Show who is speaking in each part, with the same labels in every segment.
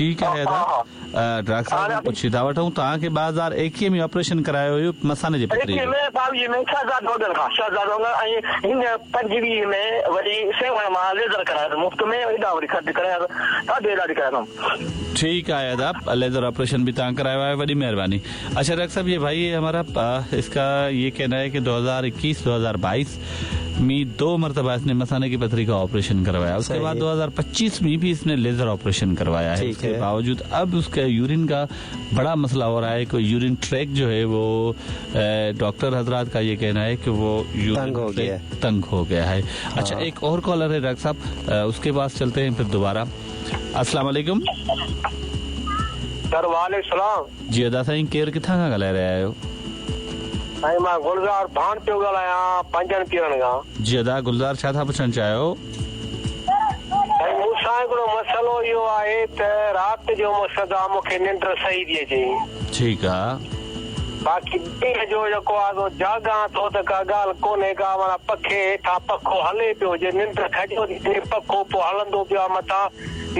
Speaker 1: ठीकु आहे अदा, डॉक्टर साहब खां पुछी था वठूं। तव्हांखे 2021 में ऑपरेशन करायो हुयो मसाने जे पथरी जो?
Speaker 2: 21 ۾، 22 ۾ شهزادو اڳر کان، شهزادو اڳر ۽ هن 25 ۾ وري سيوهڻ مان ليزر ڪرايو اٿم مفت ۾، هيڏانهن وري خرچ ڪرايو اٿم، ڏاڍو علاج ڪرايو اٿم.
Speaker 1: ٺيڪ آهي ادا، ليزر آپريشن به توهان ڪرايو آهي، وڏي مهرباني. اڇا ڊاڪٽر صاحب ये भाई हमारा इसका ये कहना है कि 2021 2022 में 2 मरतबा इसने मसाने की पथरी का ऑपरेशन करवाया, उसके बाद 2025 में भी इसने लेजर ऑपरेशन करवाया है, उसके बावजूद अब उसका यूरिन का बड़ा मसला हो रहा है कि यूरिन ट्रैक जो है वो डॉक्टर हजरात का ये कहना है कि वो यूरिन
Speaker 3: तंग हो गया
Speaker 1: ट्रैक तंग हो गया है। अच्छा एक और कॉलर है डॉक्टर साहब, उसके पास चलते हैं फिर दोबारा। अस्सलाम वालेकुम।
Speaker 4: सर वालेकुम सलाम।
Speaker 1: जी अदा साईं, केरु किथां खां ॻाल्हाए रहिया आहियो?
Speaker 4: साईं मां गुलज़ार भान पियो ॻाल्हायां, पंजनि पीरनि खां।
Speaker 1: जी अदा गुलज़ार, छा था पुछणु चाहियो?
Speaker 4: साईं मूंसां हिकिड़ो मसइलो इहो आहे त राति जो मक़सदु आहे मूंखे निंड सही थी अचे।
Speaker 1: ठीकु आहे।
Speaker 4: बाक़ी ॾींहं जो जेको आहे सो जाॻां थो त का ॻाल्हि कोन्हे का, माना पखे हेठां पखो हले पियो, जे निंड खॼो थी थिए पखो पोइ हलंदो पियो आहे मथां,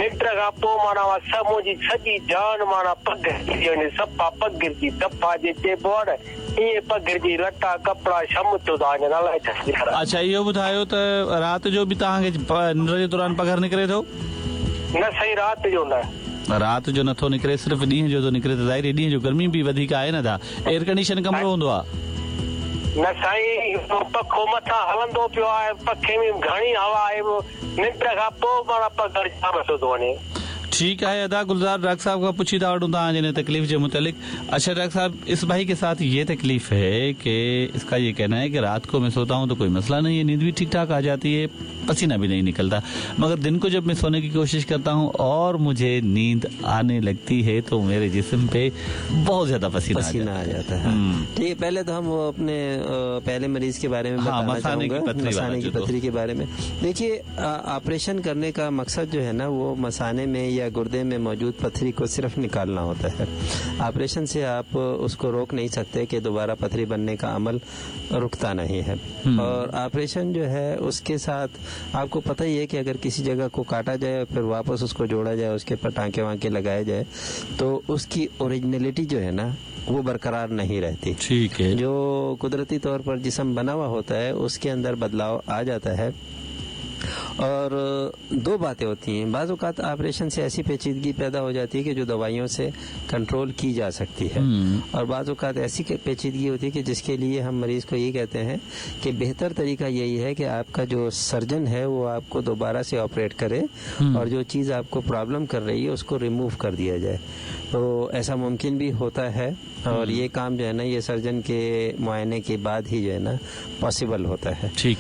Speaker 4: निंड खां पोइ माना उहा सभु मुंहिंजी सॼी जान माना पघिरजी थी वञे, सफ़ा पघिरजी, दफ़ा जे चइबो आहे न ईअं पघिरजी, लटा कपिड़ा शम थियो था वञनि, अलाए छा थी करे।
Speaker 1: अच्छा इहो ॿुधायो त राति जो बि तव्हांखे निंड जे दौरान पघर निकिरे थो?
Speaker 4: न साईं, राति जो न।
Speaker 1: राति जो नथो निकिरे, सिर्फ़ ॾींहं जो थो निकिरे, त ज़ाहिर आहे ॾींहं जो गर्मी बि वधीक आहे न, था एयर कंडीशन कमिरो हूंदो आहे?
Speaker 4: न साईं, पखो मथां हलंदो पियो आहे, पखे में घणी हवा आहे, निंड खां पोइ माना पघर जाम थियो थो वञे।
Speaker 1: ठीकु आहे अदा गुलज़ार, डॉक्टर साहब खां पुछी था वठूं तव्हांजे हिन तकलीफ़ जे मुतालिक़। अच्छा डॉक्टर साहब, इस भाई के साथ ये तकलीफ़ है कि इसका ये कहना है कि रात को मैं सोता हूँ तो कोई मसला नहीं है, नींद भी ठीक ठाक आ जाती है, पसीना भी नहीं निकलता, मगर दिन को जब मैं सोने की कोशिश करता हूँ और मुझे नींद आने लगती है तो मेरे जिस्म पे बहुत ज्यादा पसीना
Speaker 3: आ जाता है। ठीक है, पहले तो हम अपने पहले मरीज के बारे में बताना चाहूँगा, मसाने की पथरी के बारे में। देखिए, ऑपरेशन करने का मकसद जो है ना वो मसाने में या गुर्दे में मौजूद पथरी को सिर्फ निकालना होता है। ऑपरेशन से आप उसको रोक नहीं सकते कि दोबारा पथरी बनने का अमल रुकता नहीं है। और ऑपरेशन जो है उसके साथ आपको पता ही है कि अगर किसी जगह को काटा जाए और फिर वापस उसको जोड़ा जाए, उसके ऊपर टाँके वाँके लगाए जाए, तो उसकी ओरिजिनलिटी जो है ना वो बरकरार नहीं रहती।
Speaker 1: ठीक है,
Speaker 3: जो कुदरती तौर पर जिस्म बना हुआ होता है उसके अंदर बदलाव आ जाता है। और दो बातें होती हैं, बाज़ औक़ात ऑपरेशन से ऐसी पेचीदगी पैदा हो जाती है कि जो दवाइयों से कंट्रोल की जा सकती है, और बाज़ औक़ात ऐसी पेचीदगी होती है कि जिसके लिए हम मरीज़ को ये कहते हैं कि बेहतर तरीका यही है कि आपका जो सर्जन है वो आपको दोबारा से ऑपरेट करे और जो चीज़ आपको प्रॉब्लम कर रही है उसको रिमूव कर दिया जाए। तो ऐसा मुमकिन भी होता है, और ये काम जो है ना ये सर्जन के मुआयने के बाद ही जो है ना पॉसिबल होता है।
Speaker 1: ठीक,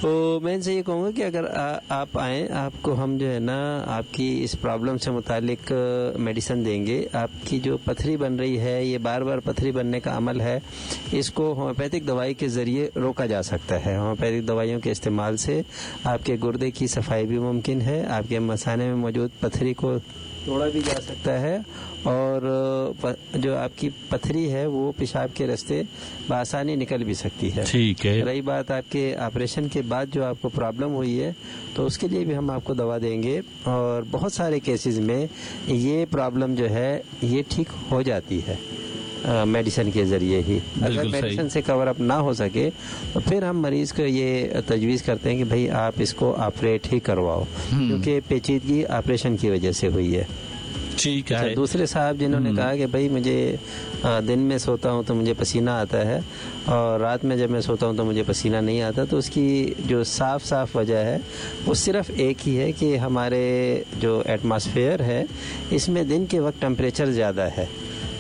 Speaker 3: तो मैं इनसे ये कहूँगा कि अगर आप आएँ, आपको हम जो है ना आपकी इस प्रॉब्लम से मुतालिक मेडिसिन देंगे। आपकी जो पथरी बन रही है, ये बार बार पथरी बनने का अमल है, इसको होम्योपैथिक दवाई के ज़रिए रोका जा सकता है। होम्योपैथिक दवाइयों के इस्तेमाल से आपके गुर्दे की सफाई भी मुमकिन है, आपके मसाने में मौजूद पथरी को तोड़ा भी जा सकता है, और जो आपकी पथरी है वो पेशाब के रास्ते बआसानी निकल भी सकती है।
Speaker 1: ठीक है।
Speaker 3: रही बात आपके ऑपरेशन के बाद जो आपको प्रॉब्लम हुई है, तो उसके लिए भी हम आपको दवा देंगे, और बहुत सारे केसेस में ये प्रॉब्लम जो है ये ठीक हो जाती है मेडिसिन के ज़रिए ही। अगर मेडिसिन से कवर अप ना हो सके तो फिर हम मरीज़ को ये तजवीज़ करते हैं कि भाई आप इसको ऑपरेट ही करवाओ, क्योंकि पेचीदगी ऑपरेशन की वजह से हुई है।
Speaker 1: ठीक है।
Speaker 3: दूसरे साहब जिन्होंने कहा कि भाई मुझे दिन में सोता हूँ तो मुझे पसीना आता है और रात में जब मैं सोता हूँ तो मुझे पसीना नहीं आता, तो उसकी जो साफ साफ वजह है वो सिर्फ एक ही है कि हमारे जो एटमॉस्फेयर है इसमें दिन के वक्त टेम्परेचर ज़्यादा है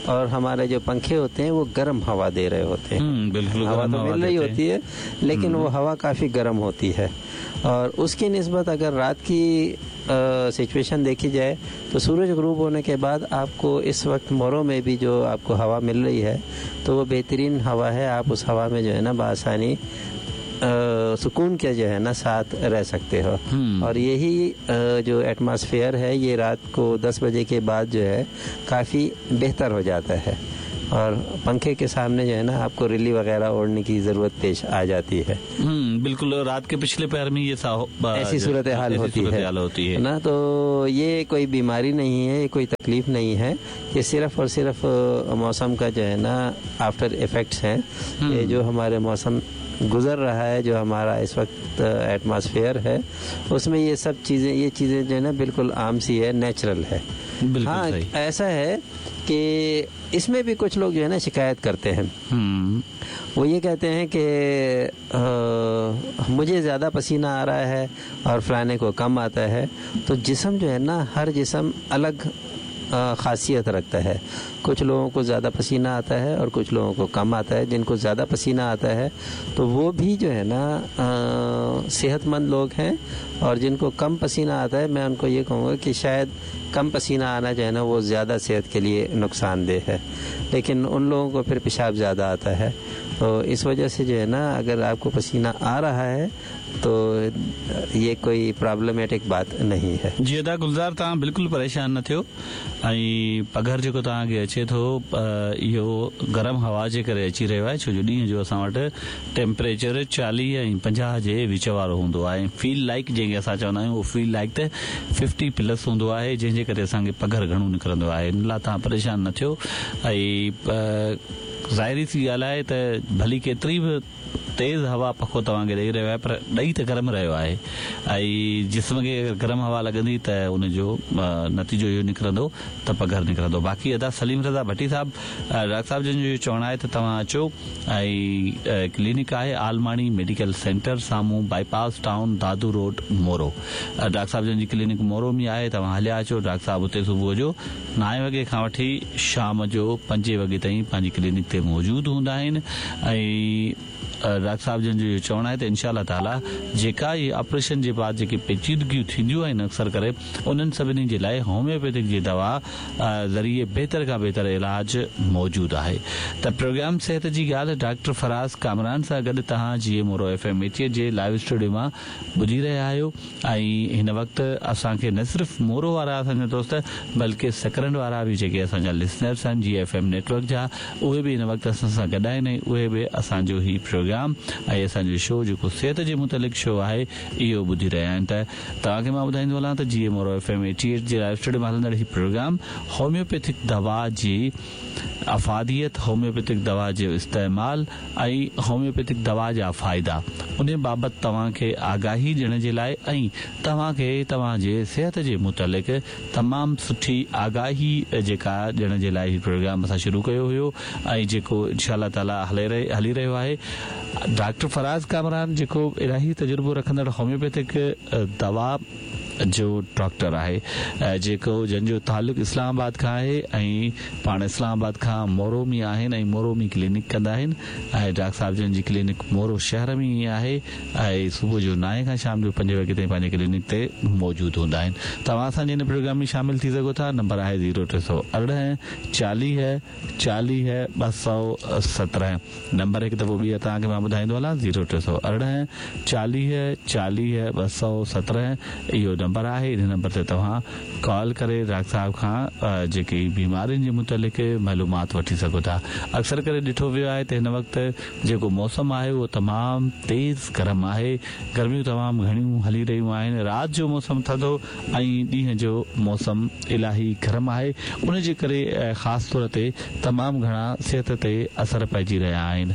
Speaker 3: और हमारे जो पंखे होते हैं वो गर्म हवा दे रहे होते हैं।
Speaker 1: बिल्कुल,
Speaker 3: हवा तो मिल रही होती है लेकिन वो हवा काफ़ी गर्म होती है, और उसकी निस्बत अगर रात की सिचुएशन देखी जाए तो सूरज गुरूब होने के बाद आपको इस वक्त मोरों में भी जो आपको हवा मिल रही है तो वो बेहतरीन हवा है। आप उस हवा में जो है ना बआसानी सुकून के जो है ना साथ रह सकते हो। और यही जो एटमॉस्फेयर है ये रात को 10 बजे के बाद जो है काफ़ी बेहतर हो जाता है। और पंखे के सामने जो है ना आपको रिली वगैरह ओढ़ने की ज़रूरत पेश आ जाती है।
Speaker 1: बिल्कुल, रात के पिछले पहर में ये
Speaker 3: ऐसी सूरत हाल होती है ना। तो ये कोई बीमारी नहीं है, ये कोई तकलीफ नहीं है, ये सिर्फ और सिर्फ मौसम का जो है ना आफ्टर इफ़ेक्ट्स हैं। ये जो हमारे मौसम गुज़र रहा है, जो हमारा इस वक्त एटमॉस्फेयर है, उसमें ये सब चीज़ें, ये चीज़ें जो है ना बिल्कुल आम सी है, नेचुरल है। हाँ, ऐसा है कि इसमें भी कुछ लोग जो है ना शिकायत करते हैं। वो ये कहते हैं कि मुझे ज़्यादा पसीना आ रहा है और फलाने को कम आता है। तो जिस्म जो है ना, हर जिस्म अलग ख़ासियत रखता है। कुछ लोगों को ज़्यादा पसीना आता है और कुछ लोगों को कम आता है। जिनको ज़्यादा पसीना आता है तो वो भी जो है ना सेहतमंद लोग हैं, और जिनको कम पसीना आता है, मैं उनको ये कहूँगा कि शायद कम पसीना आना जो है ना वो ज़्यादा सेहत के लिए नुकसानदेह है, लेकिन उन लोगों को फिर पेशाब ज़्यादा आता है। तो इस वजह से जो है ना अगर आपको पसीना आ रहा है तो ये कोई प्रॉब्लमेटिक बात नहीं है।
Speaker 1: जी अदा गुलज़ार, तव्हां बिल्कुलु परेशान न थियो ऐं पघर जेको तव्हांखे अचे थो इहो गरम हवा जे करे अची रहियो आहे, छो जो ॾींहुं जो असां वटि टेम्परेचर 40 ऐं 50 जे विच वारो हूंदो आहे। फील लाइक जंहिंखे असां चवंदा आहियूं उहो फील लाइक त 50 प्लस हूंदो आहे, जंहिंजे करे असांखे पघर घणो निकिरंदो आहे। इन लाइ तव्हां परेशान न थियो। ऐं ज़ाहिरी सी ॻाल्हि आहे त भली केतिरी बि तेज़ हवा पखो तव्हांखे ॾेई रहियो आहे, पर ॾही त गरम रहियो आहे ऐं जिस्म खे अगरि गरम हवा लॻंदी त उनजो नतीजो इहो निकिरंदो त पघर निकिरंदो। बाक़ी अदा सलीम रज़ा भट्टी साहिबु, डॉक्टर साहिबु जन जो इहो चवणु आहे त तव्हां अचो ऐं क्लिनिक आहे आलमाणी मेडिकल सेंटर, साम्हूं bypass town, Dadu road, Moro. Doctor साहिबु जन जी क्लिनिक मोरो में आहे, तव्हां हलिया अचो। डॉक्टर साहिबु उते सुबुह जो 9 वॻे खां वठी शाम जो 5 वॻे ताईं पंहिंजी क्लिनिक ते मौजूदु हूंदा आहिनि। ऐं डॉक्टर साहिबु जन जो इहो चवणु आहे त इंशा ताला जेका इहे ऑपरेशन जे बाद जेके पेचीदगियूं थींदियूं आहिनि अक्सर करे उन्हनि सभिनी जे लाइ होम्योपैथिक जी दवा ज़रिए बहितर खां बहितर इलाज मौजूदु आहे। त प्रोग्राम सेहत जी ॻाल्हि डॉक्टर फराज़ कामरान सां गॾु तव्हां जी मोरो FM 88 जे लाइव स्टूडियो मां ॿुधी रहिया आहियो। ऐं हिन वक़्तु असांखे न सिर्फ़ु मोरो वारा असांजा दोस्त बल्कि सकरंड वारा बि जेके असांजा लिसनर्स आहिनि जी एफ एम नेटवर्क जा, उहे बि हिन वक़्तु असां सां गॾु आहिनि ऐं उहे बि असांजो ही प्रोग्राम ऐं असांजो शो जेको सिहत जे मुतालिक़ शो आहे इहो ॿुधी रहिया आहिनि। त तव्हांखे मां ॿुधाईंदो हलां त जी मोरो FM 88 जे लाइव स्टूडियो मां हलंदड़ ही प्रोग्राम होम्योपैथिक दवा जी अफ़ादियत, होम्योपैथिक दवा जो इस्तेमाल ऐं होम्योपैथिक दवा जा फ़ाइदा, उन बाबति तव्हांखे आगाही ॾियण जे लाइ ऐं तव्हांखे तव्हांजे सिहत जे मुतालिक़ तमामु सुठी आगाही जेका ॾियण जे लाइ प्रोग्राम असां शुरू कयो हुयो ऐं जेको इंशा ताला हली रहियो आहे। डॉक्टर फराज़ कामरान जेको इलाही तजुर्बो रखंदड़ होम्योपैथिक दवा जो डॉक्टर आहे, जेको जंहिंजो तालुक इस्लामाबाद खां आहे ऐं पाण इस्लामाबाद खां मोरो में आहिनि ऐं मोरो में क्लिनिक कंदा आहिनि। ऐं डॉक्टर साहिबु जन जी क्लिनिक मोरो शहर में ई आहे ऐं सुबुह जो 9 खां शाम जो 5 वॻे ताईं पंहिंजे क्लिनिक ते मौजूदु हूंदा आहिनि। तव्हां असांजे हिन प्रोग्राम में शामिल थी सघो था। नंबर आहे 0318 40 40 217। नंबर हिकु दफ़ो ॿीहर तव्हांखे मां ॿुधाईंदो हलां, 0318 40 40 217 इहो नंबर आहे। इन नंबर ते तव्हां कॉल करे डॉक्टर साहिब खां जेके बीमारियुनि जे मुतालिक़ मालूमात वठी सघो था। अक्सर करे ॾिठो वियो आहे त हिन वक़्तु जेको मौसम आहे उहो तमामु तेज़ गरम आहे, गर्मियूं तमामु घणियूं हली रहियूं आहिनि। राति जो मौसम थधो ऐं ॾींहं जो मौसम इलाही गरम आहे, उनजे करे ख़ासि तौर ते तमामु घणा सिहत ते असर पइजी रहिया आहिनि।